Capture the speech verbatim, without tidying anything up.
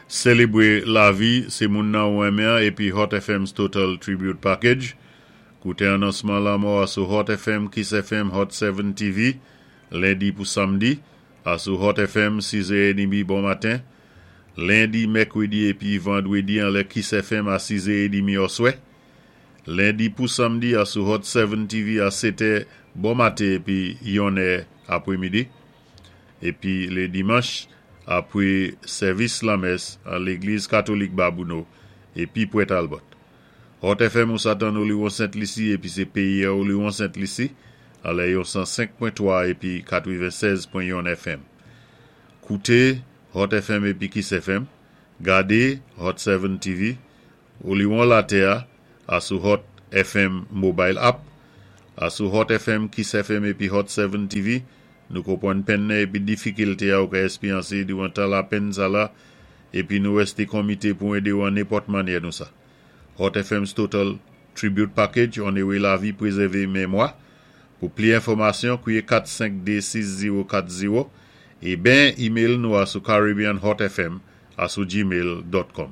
Sélébwé Lavi sé moun nan ou renmen épi Hot F M's Total Tribute Package. Kouté anonsman lanmò a sou Hot F M, Kiss F M, Hot sept T V, lendi pou samdi, a sou Hot F M, sis è trant bon maten. Lendi, mèkwédi épi vandwédi anlè Kiss F M a sis è trant oswè. Lendi pou samdi a sou Hot sept T V a sèt è bon maten épi yon è apwémidi. Épi lé dimanch, apwé sèvis lamès a Légliz Katolik Babouno épi Pwèt Talbot. Hot F M ou sa tann Oliwon Sent Lisi épi sé péyi a Oliwon Sent Lisi anlè yon san senk pwen twa épi katwennsèz pwen yon F M. Kouté Hot F M épi Kiss F M, gadé Hot sept T V, Oliwon Latè a sou Hot F M Mobile App, a sou Hot F M, Kiss F M épi Hot sept T V, nou konpwann penn nan épi difikilte a ou ka espéryansé diwan tan lapenn sa la, épi nou wèsté komité pou édé ou an nenpòt mannyè nou sa. Hot F M's Total Tribute Package, onoré lavi, pwézèvé mémwa. Pou pli enfòmasyon, kwiyé kat senk de sis zewo kat zewo é ben email nou a sou caribbeanhotfm a sou gmail dot com.